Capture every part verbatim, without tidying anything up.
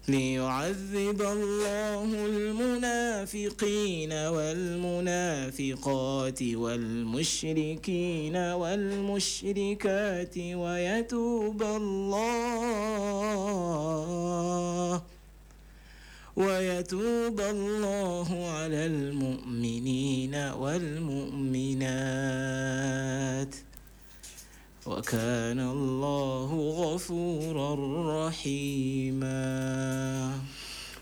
ليعذب الله المنافقين والمنافقات والمشركين والمشركات ويتوب الله ويتوب الله على المؤمنين والمؤمنات وكان الله غفورا رحيما.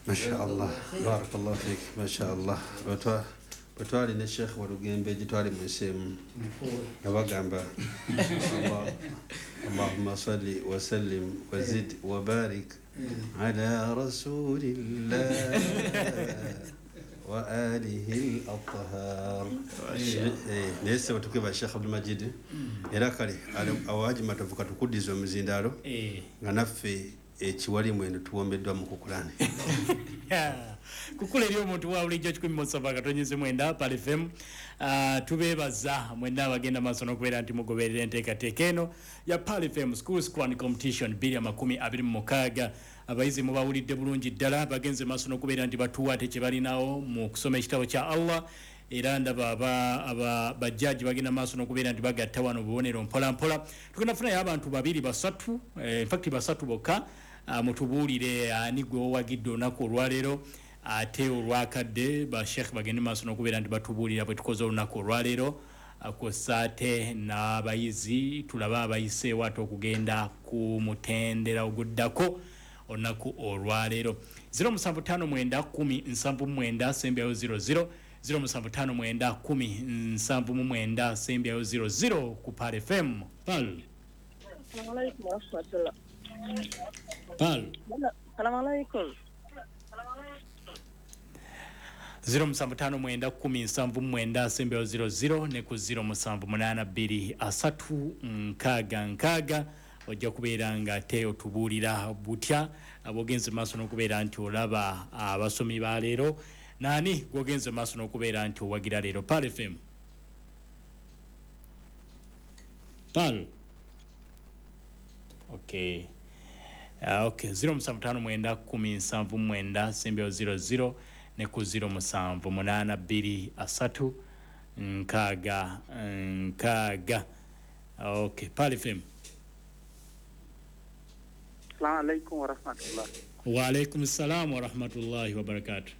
ما شاء الله، بارك الله فيك. ما شاء الله. Bwetwali ne Sheikh Walugembe gitwali mu nsi emu nga bagamba Allahumma salli wa sallim wa zid wa barik ala rasulillah wa alihi al-athhar. Naye ssebo tukeba Sheikh Abdul Majid, era kale awaji matovu katukuddiza omuzindaalo nga naffe ekiwali mweno tuwombeddwa mu kukulane. Kukula eri omuntu wa bulijjo kikumi mu musanvu akatonyeze mwenda Pearl F M. Uh, tubeebaza mwenna abagenda maaso n'okubeera nti mugoberera enteekateeka eno ya Pearl F M Schools Quran Competition bbiri makumi abiri mu mukaaga. Abayizi mubawulidde bulungi ddala, bagenze maaso n'okubeera nti batuwa ate kye balinawo mu kusoma ekitabo kya Allah. Era ndaba aba, aba bajjaji bagenda maaso n'okubeera nti bagatta wano obubonero mpola mpola. Tugenda kufunayo abantu babiri basatu, eh, in fact basatu bokka, uh, mutubuulire ani gwe owagidde olunaku olwaleero ate olwakadde. Ba Sheikh bagende maaso n'okubeera nti batubuulira bwe tukoze olunaku olwaleero kwossa ate n'abayizi tulabe abayiseewo ate okugenda ku mutendera oguddako olunaku olwaleero. zero musanvu ttaano mwenda kumi nsanvu mu mwenda sembyayo zero zero, zero musanvu ttaano mwenda kumi nsanvu mu mwenda sembyayo zero zero ku Pearl F M. Pearl. Assalamu alaikum warahmatullah. Pearl. Assalamu alaikum. zero musanvu ttaano mwenda kumi nsanvu mu mwenda sembyayo zero zero ne ku zero musanvu munaana bbiri asatu nkaaga nkaaga. Ojja kubeera nga ate otubuulira butya bw'ogenze maaso n'okubeera nti olaba abasomi ba leero, naani gw'ogenze maaso n'okubeera nti owagira leero. Pearl F M. Pearl. Okay. Uh, okay, zero musanvu ttaano mwenda kumi nsanvu mwenda sembyayo zero zero ne ku zero musanvu munaana bbiri asatu nkaaga nkaaga. Okay, Pearl F M. Assalamu alaikum warahmatullah. Wa alaikum salam warahmatullahi wabarakatuh.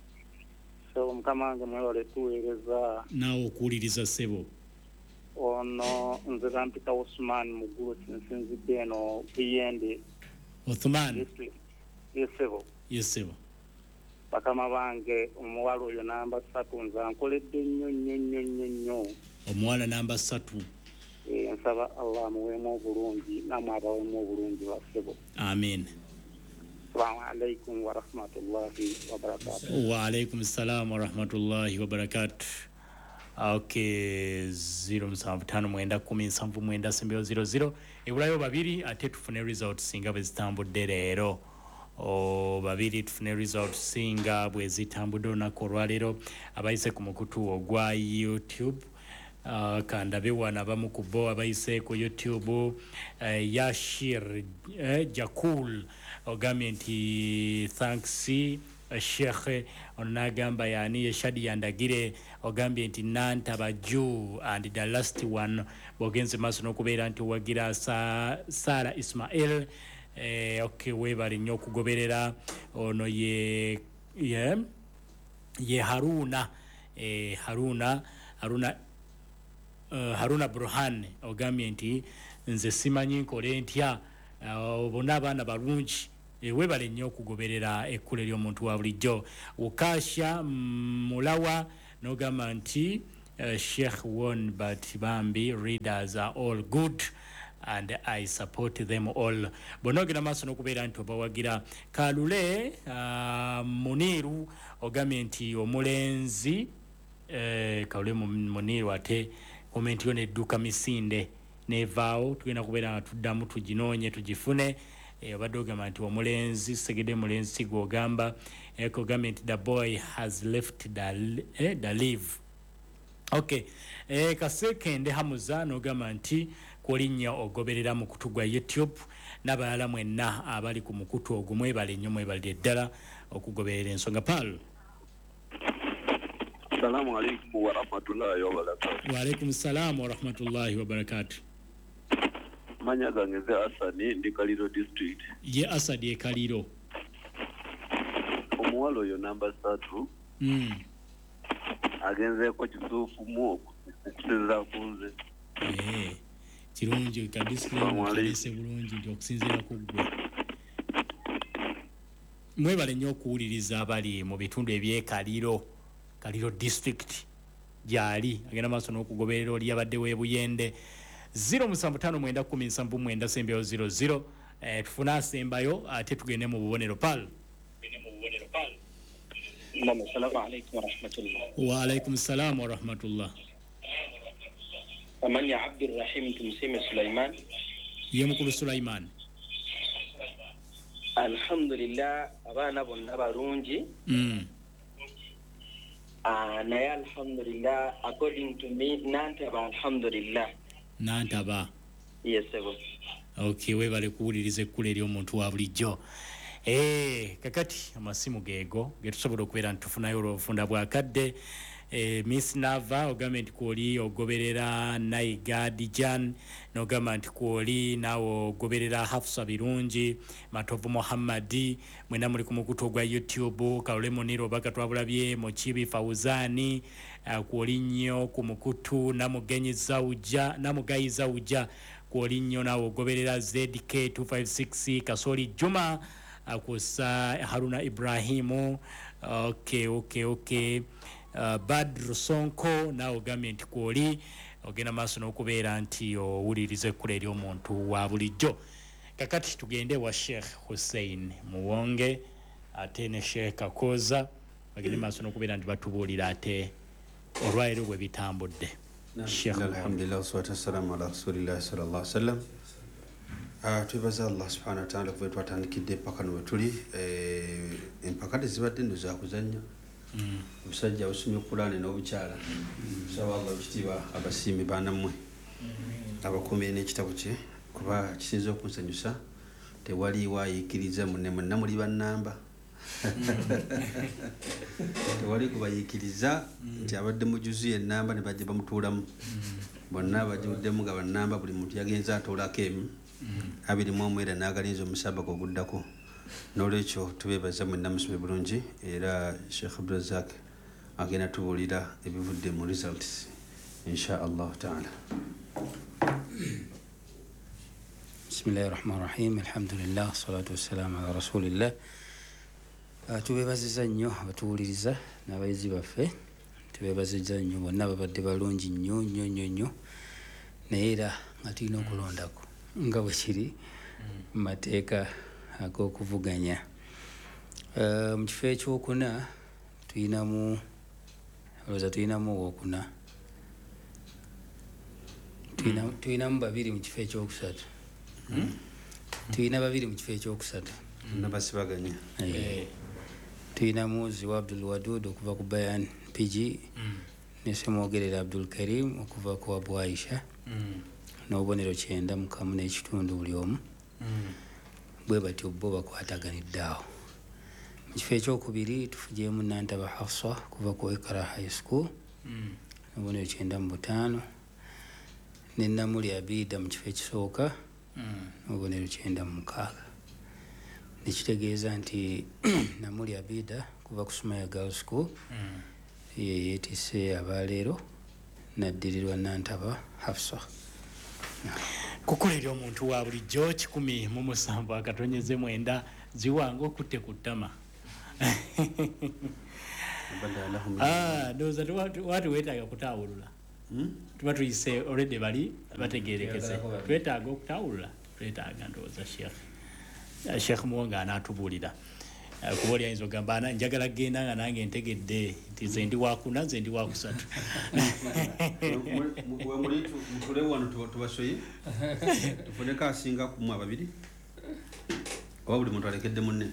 So mukama wange mwewale tuweereza. Naawe okuwuliriza ssebo. Ono nze bampita Osman Mugulu, nsinzidde eno Buyende. Othman. Yes ssebo. Yes ssebo. Bakama bange omuwala oyo namba ssatu nze ankoledde nnyo nnyo nnyo nnyo nnyo. Omuwala namba ssatu. E, nsaba Allah amuweemu obulungi namwe abaweemu obulungi bassebo. Amin. Assalamu alaikum warahmatullahi wabarakatuh. Wa alaikum salam warahmatullahi wabarakatuh. Okay, zero musanvu ttaano mwenda kumi nsanvu mwenda sembyayo zero zero. Ebulayo babiri ate tufune results singa bwe zitambudde leero. O babiri tufune results singa bwe zitambudde olunaku olwaleero. Abayise ku mukutu ogwa YouTube, Uh, kandabe wano abamu ku bo abayise ku YouTube, uh, Yashir uh, Jakul ogambye nti thanks uh, Sheikh. Ono n'agamba yani ye Shadi Yandagire ogambye nti Nantaba Ju and the last one bw'ogenze maaso n'okubeera nti owagira sa, Sara Ismail. Eh, okay, weebale nnyo okugoberera. Ono ye, ye, ye Haruna, eh, Haruna Haruna Uh, Haruna Burhan ogambye nti nze simanyi nkole ntya, uh, bonna abaana balungi. E, weebale nnyo okugoberera ekkula ery'omuntu wa bulijjo. Ukasha Mulawa n'ogamba nti uh, Sheikh won but bambi readers are all good and I support them all. Bonna ogenda maaso n'okubeera nti obawagira. Kalule uh, Muniru ogambye nti omulenzi eh, Kalule Muniru ate komenti yo nedduka misinde nevaawo, tugenda kubeera nga tuddamu tuginoonye tugifune. Obadde ogamba nti omulenzi segede mulenzi gw'ogamba ogambye nti the boy has left the, eh, the leave. Okay, eh, Kasekende Hamuza n'ogamba nti Kwoli nnyo ogoberera mukutu gwa YouTube n'abalala mwenna abali ku mukutu ogwo, mwebale nnyo, mwebalire ddala okugoberera ensonga. Paul. Assalamu alaikum wa rahmatullahi wa barakatuh. Wa alaikum salam wa rahmatullahi wa barakatuh. Manya gange nze Asani, ndi Kaliro district. Ye Asadi e Kaliro. Omuwala oyo namba ssatu Mm. agenzeeko kituufu mu okusinziira ku nze. Eh, kirungi ka disclaimer kalese bulungi nti okusinziira ku ggwe. Mwebale nnyo okuwuliriza abali mu bitundu eby'e Kaliro, Kaliro district gyali agenda maaso n'okugoberera oli abadde w'ebuyende. Zero musanvu ttaano mwenda kkumi nsanvu mwenda sembyeyo zero zero. Eh, tufune asembayo ate tugende mu bubonero. Pal. Naam, assalamu alaikum wa rahmatullah. Wa alaikum salam wa rahmatullah. Amani Abdurrahim Tumsime Sulaiman. Ye mukulu Sulaiman. Alhamdulillah, abaana bonna balungi. Mm. Ah, naye alhamdulillah, according to me, Nantaba alhamdulillah. Nantaba. Yes, sir. Okay, webale kuwuliriza ekkula ery'omuntu wa bulijjo. Eh, kakati amasimu geego getusobola okubeera nti tufunayo olw'obufunda bwakadde. Eh, Miss Nava ogambye nti kwoli ogoberera Naiga Dijan, n'ogamba nti kwoli naawe ogoberera Hafsa Birungi, Matovu Muhammadi, mwena muli ku mukutu ogwa YouTube, Kalole Muniro obaka twabulabye, Mukibi Fauzani, uh, kwoli nnyo ku mukutu Namugenyi Zauja, Namugayi Zauja, kwoli nnyo naawe ogoberera Z K two five six, Kasoli Juma, akusa Haruna Ibrahimu. Okay, okay, okay. Uh, Badru Sonko naawe ogambye nti kwoli ogenda maaso n'okubeera nti owuliriza ekkula ery'omuntu wa bulijjo. Kakati tugende wa Sheikh Hussein Muwonge ate ne Sheikh Kakoza bagende maaso n'okubeera nti batubuulira ate olwaleero bwe bitambudde. Sheikh, alhamdulillah wassalatu wassalamu ala rasulillah sallallahu alaihi wasallam. Ah, twebaza Allah subhanahu wa ta'ala kuva twatandikidde empaka no wetuli. Eh, empaka tezibadde nno za kuzannya. Omusajja osomye Kulaani n'obukyala. Nsaba Allah ekitiibwa abasiimi baanammwe abakuumire n'ekitabo kye, kuba kisinza okunsanyusa tewaliiwo ayiikiriza munne, mwenna muli bannamba. Tewali kubayiikiriza nti abadde mujuzi ennamba ne bajja bamutuulamu. Bonna bagiwuddemu nga bannamba, buli muntu yagenze atoolako emu abiri mu omu era n'agalinza omusabaka oguddako. N'olwekyo tubeebaza mwenna musome bulungi, era Sheikh Abdulrazak agenda tubuulira ebivudde mu results insha Allah taala. Bismillahirrahmanirrahim. Alhamdulillah wassalatu wassalamu ala rasulillah. Tubeebazizza nnyo abatuwuliriza n'abayizi baffe, tubeebazizza nnyo bonna babadde balungi nnyo nnyo nnyo nnyo, naye era nga tulina okulondako nga bwe kiri mu mateeka ag'okuvuganya. Mu kifo ekyokuna tulinamu, olowooza tulinamu owookuna, tulinamu babiri mu kifo ekyokusatu, tulina babiri mu kifo ekyokusatu nabasibaganya. Tulinamu Ziwa Abdul Wadud okuva ku Bayan P G ne Ssemwogerere Abdul Karim okuva ku Abu Aisha n'obubonero kyenda mu kamu n'ekitundu buli omu. Bwe batyo bo bakwataganidde awo. Mu kifo ekyokubiri tufugyemu Nantaba Hafsa kuva ku Ikra High School n'obubonero kyenda mu butaano, ne Namuli Abida mu kifo ekisooka n'obubonero kyenda mu mukaaga. Nekitegeeza nti Namuli Abida kuva ku Sumaya Girls School ye yeetisse abaleero n'addirirwa Nantaba Hafsa. Kukola eri omuntu wa bulijjo kikumi mu musanvu akatonyeze mwenda ziwange okutte ku ttama. Ah, ndowooza watu weetaaga kutaawulula. Tuba tuyise already bali bategeerekese. Twetaaga okutaawulula, twetaaga ndowooza Sheikh. Sheikh Muwonge anaatubuulira. Kuba oli ayinza okugamba njagala kugenda nga nange ntegedde nti nze ndi wakuna nze ndi wakusatu. Wemuli mutule wano tubasoye tufuneko asinga ku mmwe ababiri oba buli muntu alekedde munne.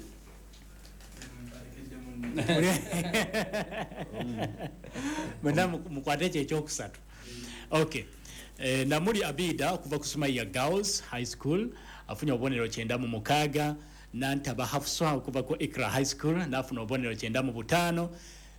Mwenna mukwate ekyo ekyokusatu. Okay. E, Namuli Abida okuva ku Sumaiya Girls High School afunye obubonero kyenda mu mukaaga. Nantaba Hafsa okuva ku Ikra High School n'afuna obubonero kyenda mu butaano.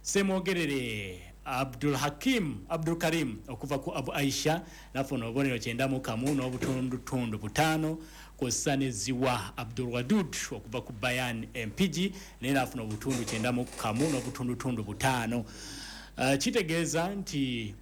Semwogerere Abdul Hakim Abdul Karim okuva ku Abu Aisha n'afuna obubonero kyenda mu kamu n'obutundutundu butaano. Kw'ossa ne Ziwa Abdul Wadud okuva ku Bayan M P G naye n'afuna obutundu kyenda mu kamu n'obutundutundu butaano. Uh, kitegeeza nti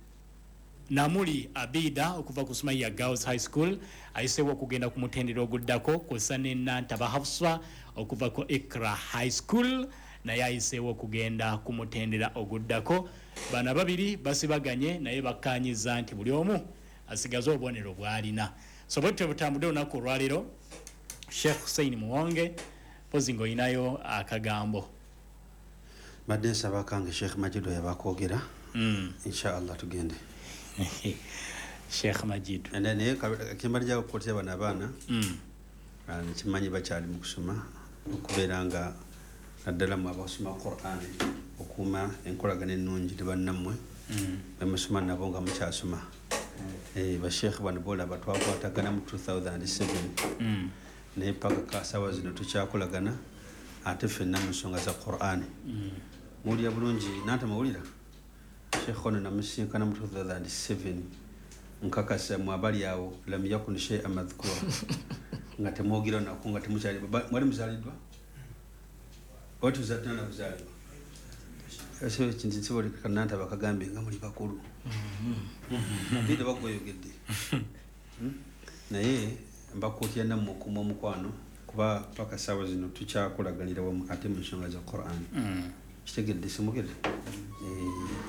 Namuli Abida okuva ku Sumaiya Girls High School ayiseewo okugenda ku mutendera oguddako, kw'ossa ne Nantaba Hafsa okuva ku Ikra High School naye ayiseewo okugenda ku mutendera oguddako. Bano babiri basibaganye naye bakkaanyiza nti buli omu asigaze obubonero bw'alina. So bwe tutyo butambudde olunaku olwaleero. Sheikh Hussein Muwonge, mpozi ng'olinayo akagambo. Mbadde nsaba kange Sheikh Majido yabakwogera. Mm. Inshallah tugende. Sheikh Majido naye kyembadde okukwatira bano abaana Mm. nkimanyi bakyali mu kusoma, okubeera nga naddala mu abasoma Quran okuuma enkolagana ennungi ne bannammwe Mm. bemusoma nabo nga mukyasoma. Eh, basheikh bano bolaba twakwatagana mu two thousand seven Mm. naye paka kasaawa zino tukyakolagana ate ffenna mu nsonga za Quran. Mm. Muwulira bulungi nantamawulira Sheikh ono namusinkana mu two thousand seven nkakasa mu abali awo lam yakun shay'an madhkura nga temwogira nako nga temukyali mwali muzaaliddwa oba tuzadde kuzaalibwa. Ese ekintu kiboleka Nantaba kagambye nga muli bakulu. Bidde bagweyogedde. Naye mbakuutira nammwe okuuma omukwano kuba paka ssaawa zino tukyakolaganira wamu ate mu nsonga za Quran. Kitegedde simugedde?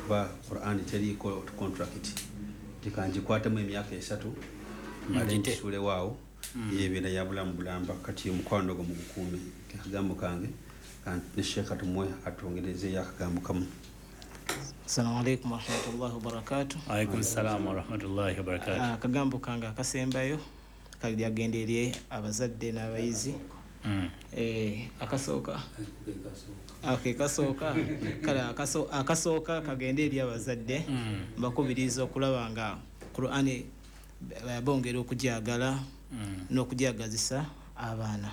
Kuba Quran teriiko contract. Tikangikwatemu emyaka esatu mmale nkisuulewo awo yeebeera ya bulamu bulamba. Kati omukwano ogwo mugukuume. Akagambo kange ne Sheikh atumuwe atwongerezeeyo akagambo kamu. Assalamu alaikum warahmatullahi wabarakatuh. Alaikum salaam warahmatullahi wabarakatuh. Akagambo kange akasembayo kagenda eri abazadde n'abayizi. Mm. Eh, akasooka okay, kasooka kale akaso, akasooka kagenda eri abazadde. Mm. Mbakubiriza okulaba nga Qur'ani bongera okugyagala mm. n'okugyagazisa abaana.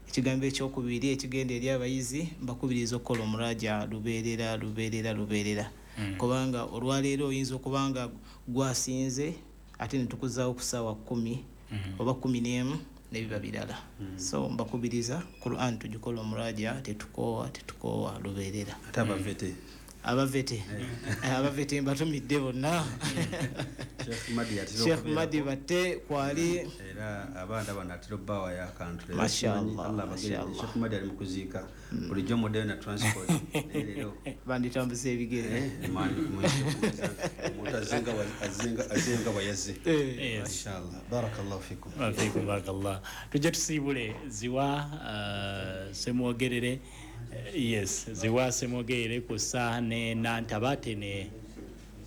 Ekigambo ekyokubiri ekigenda eri abayizi, mbakubiriza okukola omuraja lubeerera lubeerera lubeerera. Mm. Kubanga olwaleero oyinza okuba nga gwasinze ate ne tukuzaawo ku ssaawa kkumi mm. oba kkumi n'emu n'ebiba birala. Mm. So mbakubiriza Quran tugikola omuraja, tetukoowa tetukoowa lubeerera. Ate abavete abavete abavete mbatumidde bonna. Sheikh Madi atera Sheikh Madi batte kwali era abaana bano atera obbawayo akantu. Mashallah, Allah abagende. Sheikh Madi ali mu kuziika bulijjo muddeyo na transport naye leero banditambuza ebigere. Omuntu azenga azenga azenga bw'ayazze. Yes. Inshallah. Barakallahu fikum. Wa fikum barakallah. Tujja tusiibule Ziwa uh, Semwogerere. Yes, Ziwa Semwogerere kusa ne Nantaba ate ne,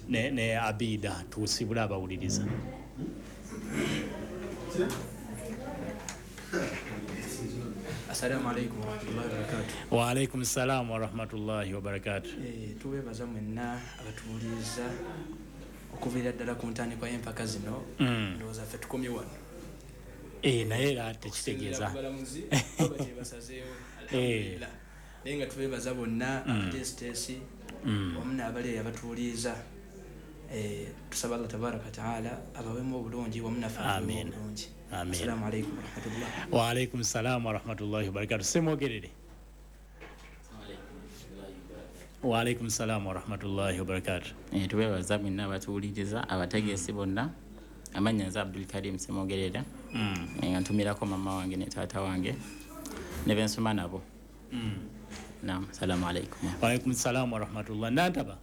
ne, ne Abida tusiibule abawuliriza. Assalamu alaikum warahmatullahi wabarakatuh. Wa alaikum salam warahmatullahi wabarakatuh. Eh, tuwebaza mwenna abatuwuliriza okuviira ddala ku ntandikwa y'empaka zino. Mm. Ndowooza ffe tukomye wano. Eh, naye era tekitegeeza. Abalamuzi baba kye basazeewo. Alhamdulillah. Naye nga tubeebaza bonna abateesiteesi wamu n'abali abatuwuliriza. Eh, tusaba Allah tabaraka taala abawemu obulungi wamu naffe atuwe obulungi. Amin. Assalamu alaikum warahmatullahi. Wa alaikum salam warahmatullahi wabarakatuh. Semwogerere. Wa alaikum salam warahmatullahi wabarakatuh. Eh, tubeebaza mwenna abatuwuliriza, abategeesi bonna. Amannya nze Abdul Karim Semwogerere. Mm. Nga ntumirako mama wange ne taata wange ne bensoma nabo. Mm. Naam, assalamu alaikum. Wa alaikum salam warahmatullah. Nantaba,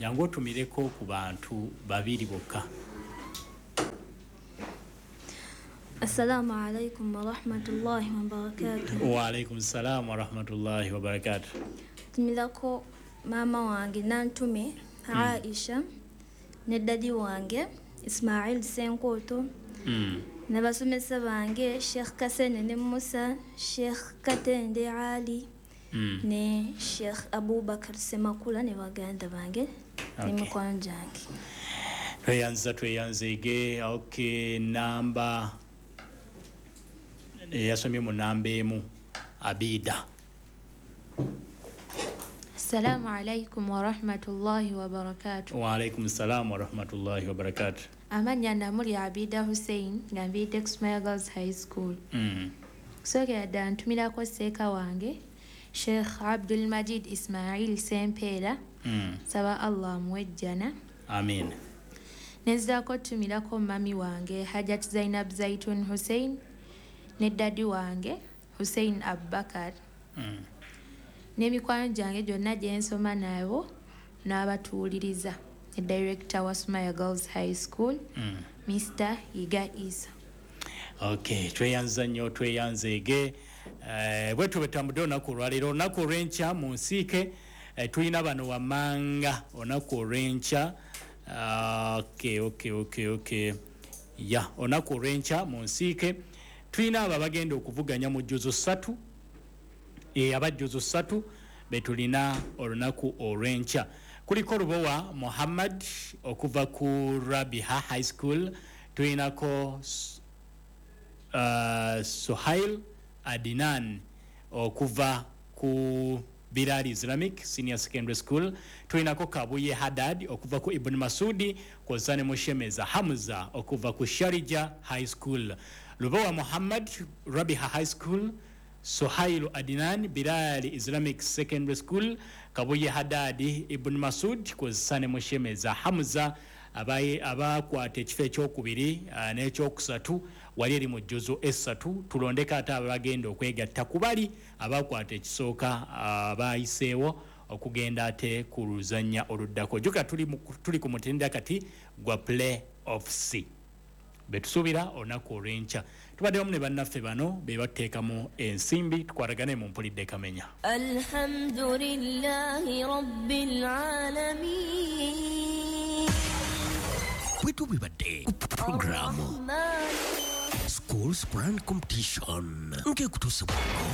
jangu otumireko ku bantu babiri bokka. Assalamu alaikum warahmatullahi wabarakatuh. Wa alaikum salam warahmatullahi wabarakatuh. Tumirako mama wange Nantume Aisha ne dadi wange Ismail Senkoto. Mm. N'abasomesa bange Sheikh Kasene ne Musa, Sheikh Katende Ali mm. ne Sheikh Abubakar Semakula ne baganda bange Okay. ne mikwano gyange. Tweyanza tweyanzeege. Okay, namba eyasomye mu namba emu, Abida. Assalamu alaikum warahmatullahi wabarakatuh. Wa alaikum salam warahmatullahi wabarakatuh. Amannya namuli Abida Hussein nga nviidde ku Sumaya Girls High School. Mm. Kusookera ddala ntumirako sseeka wange Sheikh Abdul Majid Ismail Sempeera. Mm. Nsaba Allah amuwe ejjana. Amin. Nenziraako tumirako mami wange Hajat Zainab Zaitun Hussein ne ddadi wange Hussein Abubakar. Mm. N'emikwano gyange gyonna gye nsoma nabo n'abatuwuliriza ne director wa Sumaya Girls High School, Mm. Mister Yiga Isa. Okay, tweyanza nnyo tweyanzeege. Eh, bwe tubetambudde olunaku olwaleero, olunaku olw'enkya mu nsiike eh, tulina bano wammanga olunaku olw'enkya. Ah, okay, okay, okay, okay. Ya, olunaku olw'enkya mu nsiike tulina abo abagenda okuvuganya mu jjuzo ssatu, e, abajjuzo ssatu be tulina olunaku olw'enkya. Kuliko Lubowa Muhammad okuva ku Rabiha High School, tulinako uh, Suhail Adinan okuva ku Bilal Islamic Senior Secondary School, tulinako Kabuye Haddad okuva ku Ibn Masudi, kw'ossa ne Mushemeza Hamza okuva ku Sharija High School. Lubowa Muhammad, Rabiha High School, Suhailu Adinan, Bilal Islamic Secondary School, Kabuye Haddad, Ibn Masud, kw'ossa ne Mushemeza Hamza abakwata ekifo ekyokubiri uh, n'ekyokusatu wali eri mu jjuzo essatu. Tulondeko ate abagenda okwegatta ku bali abakwata ekisooka abayiseewo okugenda ate ku luzannya oluddako. Jjuka tuli, tuli ku mutendera kati gwa play off C betusuubira olunaku olw'enkya. Tubadde wamu ne bannaffe bano be bateekamu ensimbi, tukwatagane mu Mpulidde Kamenya. Alhamdulillahi rabbil alamin. Bwe tubibadde ku programu Schools Quran Competition ng'ekutuusibwako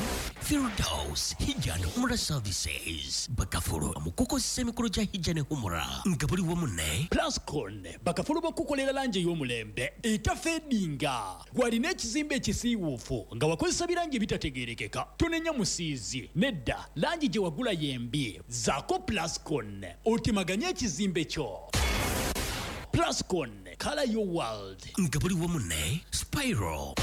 Firdaus Hijja and Umrah Services, bakafulu mu kukozesa emikolo gya Hijja ne Umrah nga buli wamu ne Plascon, bakafulu bakukolera langi ey'omulembe etafeedinga. Gwalina ekizimbe ekisiiwuufu nga wakozesa birangi ebitategeerekeka, tonenya musiizi nedda, langi gye wagula yembi. Zaako Plascon otemaganye ekizimbe kyo. Plascon, color your world. Nga buli wamu ne Spiral,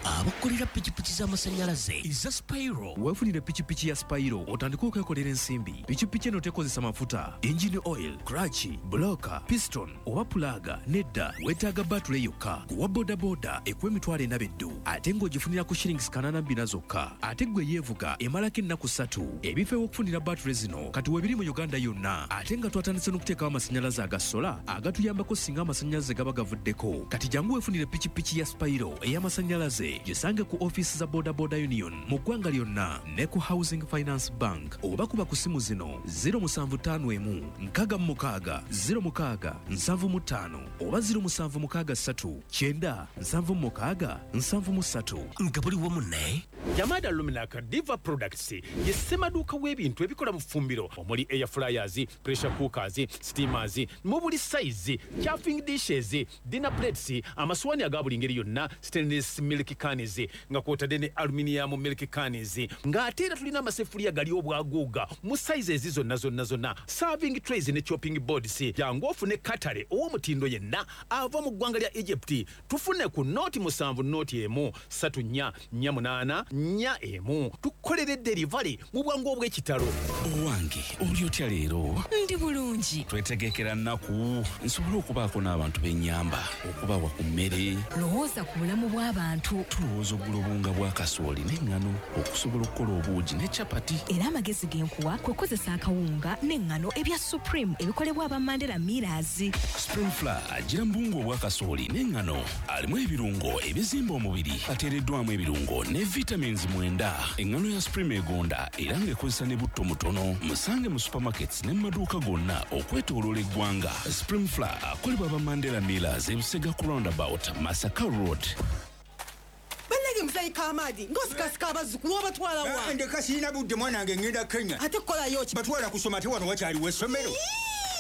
abakolera pikipiki z'amasannyalaze eza Spiral. Weefunire pikipiki ya Spiral otandike okwekolera ensimbi. Pikipiki eno tekozesa mafuta, engine oil, clutch, bloka, piston oba pulaga. Nedda, weetaaga batule yokka. Kuwa bodaboda ekuwa emitwalo ena beddu ate ng'ogifunira ku shillings kanaana bbina zokka. Ate ggwe yeevuga emalako ennaku ssatu. Ebifo ew'okufunira batule zino kati weebiri mu Uganda yonna, ate nga twatandise n'okuteekawo amasannyalaze aga sola agatuyambako singa amasannyalaze gaba gavuddeko. Kati jangu weefunire pikipiki ya Spiral ey'amasannyalaze, gisange ku ofiisi za Boda Boda Union mu ggwanga lyonna ne ku Housing Finance Bank, oba kuba ku simu zino zero musanvu ttaano emu nkaaga mu mukaaga zero mukaaga nsanvu mu ttaano oba zero musanvu mukaaga ssatu kyenda nsanvu mu mukaaga nsanvu mu ssatu. Nga buli wamu ne Jamada Luminaka Diva Products ye ssemaduuka w'ebintu ebikola mu ffumbiro omuli air fryers, pressure cookers, steamers mu buli size, chafing dishes, dinner plates, amaswani aga buli ngeri yonna, stainless milk cans nga kwotadde ne aluminium milk cans, ng'ate era tulina amasefuriya gali obwaguuga mu sizes zonna zonna zonna, serving trays ne chopping boards. Jangu ofune katale ow'omutindo yenna ava mu ggwanga lya Egypt. Tufune ku noti musanvu noti emu ssatu nnya nnya munaana nnya emu, tukolere delivery mu bwangu obw'ekitalo. Owange oli otya leero? Ndi bulungi. Twetegekera nnaku nsobole okubaako n'abantu b'ennyamba okubawa ku mmere. Lowooza ku bulamu bw'abantu. Tulowooza ogula obuwunga bwa kasooli n'eŋŋano okusobola okukola obuugi ne capati. Era amagezi ge nkuwa kwe kukozesa akawunga n'eŋŋano ebya Supreme ebikolebwa aba Mandela Millers. Supreme Flour agira mu buwunga obwa kasooli n'eŋŋano, alimu ebirungo ebizimba omubiri, ateereddwamu ebirungo ne vitamins mwenda. Eŋŋano ya Supreme egonda era ng'ekozesa ne butto mutono. Musange mu supermarkets ne mu maduuka gonna okwetooloola eggwanga. Supreme Flour akolebwa aba Mandela Millers, Ebusega ku roundabout, Masaka Road. Bannange muzeeyi Kamadi ng'osikasika abazzukulu obatwala wa? Ndeka sirina budde mwana wange, ŋŋenda Kenya. Ate kukolayo ki? Batwala kusoma ate wano wakyaliwo essomero.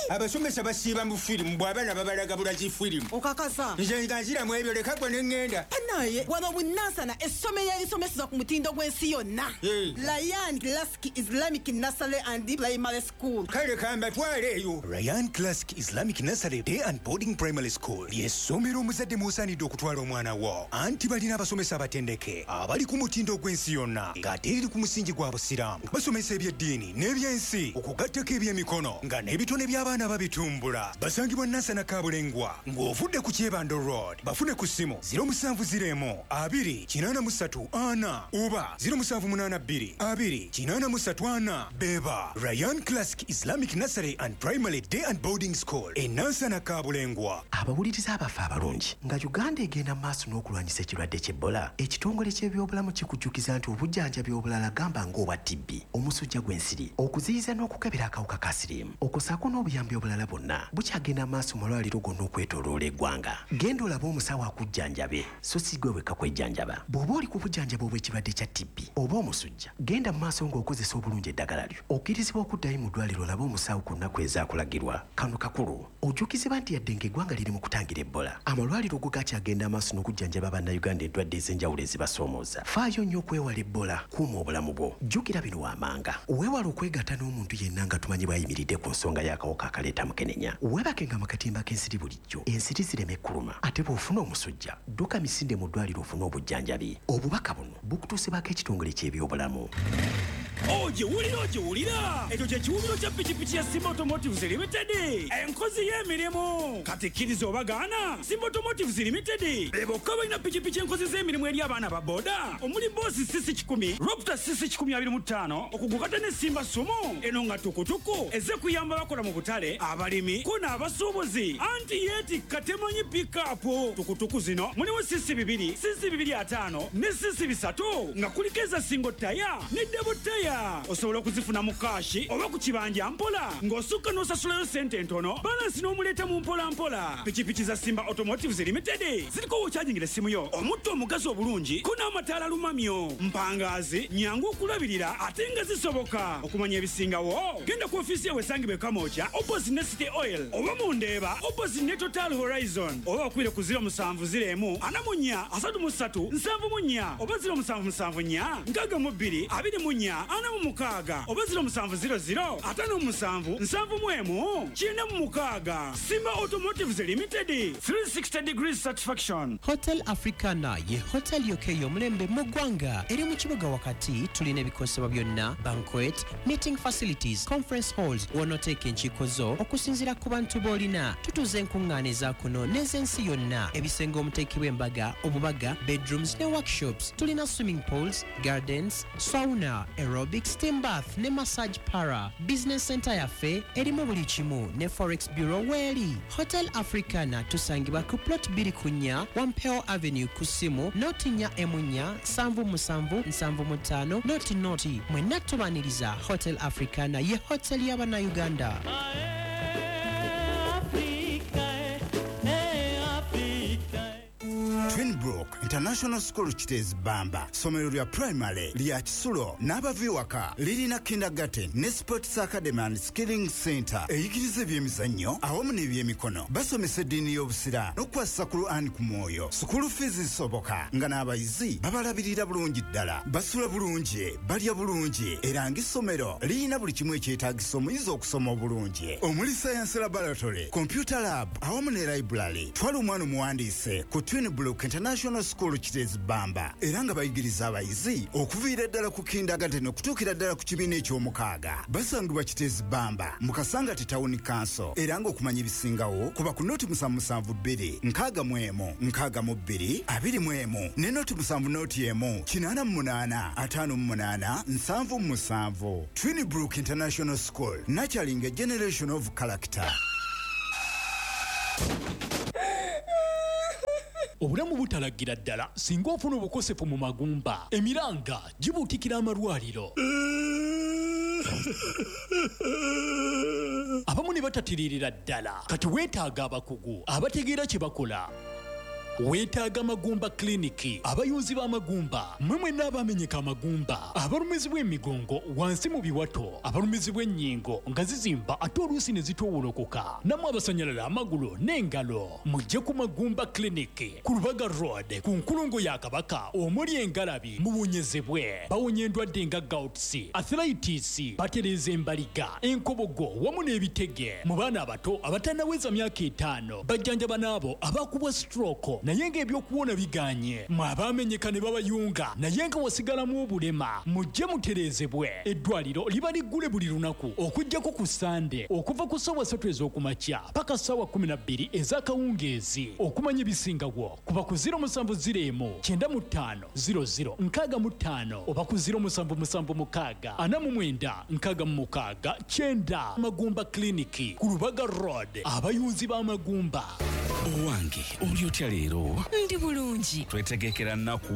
Abasomesa basiiba mu firimu bw'abaana babalaga bulazi firimu. Okakasa. Nze nga nziramu ebyo leka gwe ne ŋŋenda. Banaye wano bunansana essomero erisomeseza ku mutindo gw'ensi yonna. Ryan Classic Islamic Nursery and Primary School. Kale kambatwale eyo. Ryan Classic Islamic Nursery Day and Boarding Primary School ly'essomero omuzadde mw'osaanidde okutwala omwana wo. Anti balina abasomesa abatendeke abali ku mutindo gw'ensi yonna ng'ate eriri ku musingi gwa Busiraamu. Basomesa eby'eddiini n'ebyensi okugattako ebyemikono nga n'ebitone by'abaana babitumbula. Basangibwa Nansana Kabulengwa ng'ovudde ku Kyebando Road. Bafune ku ssimu ziro musanvu ziro emu abiri kinaana mu ssatu ana oba ziro musanvu munaana bbiri abiri kinaana mu ssatu ana. Beba Ryan Classic Islamic Nursery and Primary Day and Boarding School e Nansana Kabulengwa. Abawuliriza abaffe abalungi, nga Uganda egenda mu maaso n'okulwanyisa ekirwadde ky'Ebola, ekitongole ky'ebyobulamu kikujjukiza nti obujjanjabi obulala gamba ng'obwa T B, omusujja gw'ensiri, okuziyiza n'okukebera akawuka ka siriimu, okussaako n'obuyambi obulala bwonna bukyagenda maaso mu malwaliro gonna okwetooloola eggwanga. Genda olabe omusawo akujjanjabe, so si gwe wekka kwejjanjaba. Bw'oba oli ku bujjanjabi obw'ekirwadde kya T B oba omusujja, genda mu maaso ng'okozesa obulungi eddagala lyo. Okkirizibwa okuddayo mu ddwaliro olabe omusawo ku nnaku ezaakulagirwa. Kano kakulu, ojjukizibwa nti yadde ng'eggwanga liri mu kutangira Ebola, amalwaliro go gakyagenda amaaso n'okujjanjaba Bannayuganda endwadde ez'enjawulo ezibasoomooza. Faayo nnyo okwewala Ebola, kuuma obulamu bwo. Jjukira bino wammanga: weewale okwegatta n'omuntu yenna nga tumanyi bw'ayimiridde ku nsonga y'akawuka akaleeta mukenenya. Weebakenga mu katimba k'ensiri bulijjo, ensiri zireme kuluma. Ate bw'ofuna omusujja, dduka misinde mu ddwaliro ofune obujjanjabi. Obubaka buno bukutuusibwako ekitongole ky'ebyobulamu. Ogiwulira ogiwulira ekyo kye kiwubiro kya pikipiki ya Simba Automotives Limited, enkozi y'emirimu. Kati kkiriza obagaana, Simba Automotives Limited be bokka balina pikipiki enkozi z'emirimu eri abaana ba boda omuli Boss C C kikumi, Raptor C C kikumi abiri mu ttaano, okugukata ne Simba Sumo eno nga tukutuku ezze kuyamba bakola mu butale, abalimi ko n'abasuubuzi. Anti yeetikka temanyi pikapu. Tukutuku zino mulimu C C bibiri, C C bibiri ataano ne C C bisatu nga kuliko eza single tire ne double tire. Osobola okuzifuna mu cash oba ku kibanja mpola ng'osukka n'osasulayo ssente entono, balance n'omuleeta mu mpola mpola. Pikipiki za Simba Automotives Limited ziriko w'okyajingira essimu yo, omutto omugazi obulungi ko n'amataala lumamyo, mpangaazi, nyangu okulabirira ate nga zisoboka. Okumanya ebisingawo genda ku ofiisi yawe esangibwa e Kamwokya opposite ne City Oil oba mu Ndeeba opposite ne Total Horizon, oba bakubire ku ziro musanvu ziro emu ana mu nnya asatu mu ssatu nsanvu mu nnya oba ziro musanvu musanvu nnya nkaaga mu bbiri abiri mu nnya ana mu mukaaga oba ziro musanvu ziro ziro ataano mu musanvu nsanvu mu emu kyenda mu mukaaga. Simba Automotives Limited, three sixty degrees satisfaction. Hotel Africana ye hotel yokka ey'omulembe mu ggwanga. Eri mu kibuga wakati. Tulina ebikozesebwa byonna, banquet, meeting facilities, conference halls w'onooteeka enkiiko zo okusinziira ku bantu b'olina. Tutuuza enkuŋŋaana eza kuno n'ez'ensi yonna, ebisenge omuteekebwa embaga, obubaga, bedrooms ne workshops. Tulina swimming pools, gardens, sauna, aerobic, steam bath ne massage parlour. Business center yaffe erimu buli kimu ne forex bureau weeri. Hotel Africana tusangibwa ku plot bbiri ku nnya Wampeo Avenue, ku ssimu noti nnya emu nnya nsanvu musanvu nsanvu mu ttaano noti noti. Mwenna tubaaniriza. Hotel Africana ye hotel y'Abannayuganda. Twinbrook International School Kiteezi Bamba, ssomero lya primary lya kisulo n'abava ewaka. Lirina kindergarten ne sports academy and skilling center eyigiriza ebyemizannyo awamu n'ebyemikono. Basomesa eddiini y'Obusiraamu n'okukwasisa Quran ku mwoyo. School fees zisoboka nga n'abayizi babalabirira bulungi ddala, basula bulungi, balya bulungi, era ng'essomero lirina buli kimu ekyetaagisa omuyizi okusoma obulungi omuli science laboratory, computer lab awamu ne library. Twala omwana omuwandiise ku Twinbrook International School Kiteezi Bamba, era nga bayigiriza abayizi okuviira ddala ku kindergarten okutuukira ddala ku kibiina eky'omukaaga. Basangibwa Kiteezi Bamba mu Kasangati Town Council, era ng'okumanya ebisingawo kuba ku noti musanvu musanvu bbiri nkaaga mu emu nkaaga mu bbiri abiri mu emu ne noti musanvu noti emu kinaana mu munaana ataano mu munaana nsanvu mu musanvu. Twinbrook International School, nurturing a generation of character. Obulamu butalagira ddala singa ofuna obukosefu mu magumba, emiranga gibuutikira amalwaliro, abamu ne batatiririra ddala. Kati weetaaga abakugu abategeera kye bakola. Weetaaga Magumba Clinic, abayunzi b'amagumba, mmwe mwenna abamenyeka amagumba, abalumizibwa emigongo wansi mu biwato, abalumizibwa ennyingo nga zizimba ate oluusi ne zitoowolokoka, nammwe abasanyalala amagulu n'engalo, mujje ku Magumba Clinic ku Lubaga Road ku nkulungo ya Kabaka omuli engalabi, muwonyezebwe. Bawonya endwadde nga gouts, arthritis, batereeza embaliga, enkobogo wamu n'ebitege. Mu baana abato abatannaweza myaka etaano, bajjanjaba n'abo abakubwa stroke naye ng'ebyokuwona biganye. Mwe abaamenyeka ne babayunga naye nga wasigalamu obulema, mujje mutereezebwe. Eddwaliro liba liggule buli lunaku okuggyako ku Sande okuva ku ssaawa ssatu ez'okumakya paka ssaawa kkumi na bbiri ez'akawungeezi. Okumanya ebisingawo kuba ku ziro musanvu ziro emu kyenda mu ttaano ziro ziro nkaaga mu ttaano oba ku ziro musanvu musanvu mukaaga ana mu mwenda nkaaga mu mukaaga kyenda. Magumba Clinic ku Lubaga Road, abayunzi b'amagumba. Owange, oli otya leero? Ndi bulungi. Twetegekera nnaku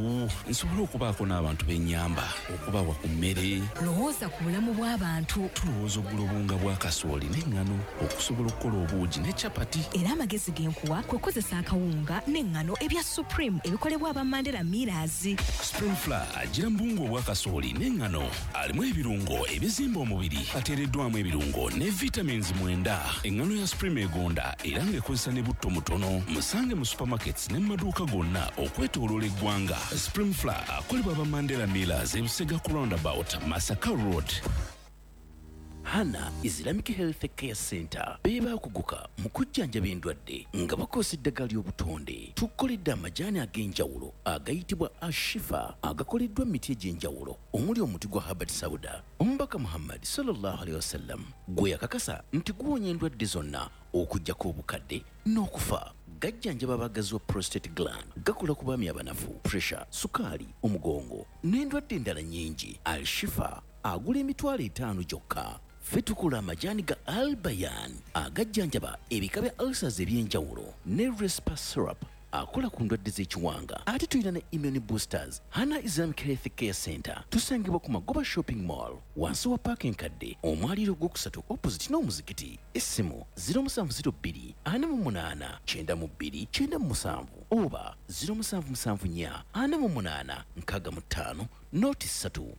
nsobole okubaako n'abantu b'ennyamba, okubawa ku mmere. Lowooza ku bulamu bw'abantu. Tulowooza okugula obuwunga bwa kasooli n'eŋŋano okusobola okukola obuugi ne capati. Era amagezi ge nkuwa kwe kukozesa akawunga n'eŋŋano ebya Supreme ebikolebwa aba Mandela Millers. Supreme Flour agira mu buwunga obwa kasooli n'eŋŋano, alimu ebirungo ebizimba omubiri, ateereddwamu ebirungo ne vitamins mwenda. Eŋŋano ya Supreme egonda era ng'ekozesa ne butto mutono. Musange mu supermarkets ne mu maduuka gonna okwetooloola eggwanga. Supreme Flour akolebwa aba Mandela Millers e Busega ku roundabout Masaka Road. Hana Islamic Health Care Center be baakuguka mu kujjanjaba endwadde nga bakozesa eddagala ly'obutonde. Tukoledde amajaani ag'enjawulo agayitibwa Ashifa agakoleddwa mu miti egy'enjawulo omuli omuti gwa Habbat Sauda. Omubaka Muhammad sallallahu alaihi wasallam gwe yakakasa nti guwonya endwadde zonna okuggyako obukadde n'okufa. Gajjanjaba abagazi wa prostate gland, gakola ku baami abanafu, pressure, sukaali, omugongo n'endwadde endala nnyingi. Al-Shifa agula emitwalo etaano gyokka. Ffe tukola amajaani ga Albayan agajjanjaba ebika bya ulcers eby'enjawulo ne Respa syrup akola ku ndwadde z'ekiwanga. Ate tulina ne immune boosters. Hana Islamic Health Care Center tusangibwa ku Magoba Shopping Mall wansi wa paaka enkadde omwaliiro ogwokusatu opposite n'omuzikiti. Essimu ziro musanvu ziro bbiri ana mu munaana kyenda mu bbiri kyenda mu musanvu oba ziro musanvu musanvu nnya ana mu munaana nkaaga mu ttaano nooti ssatu.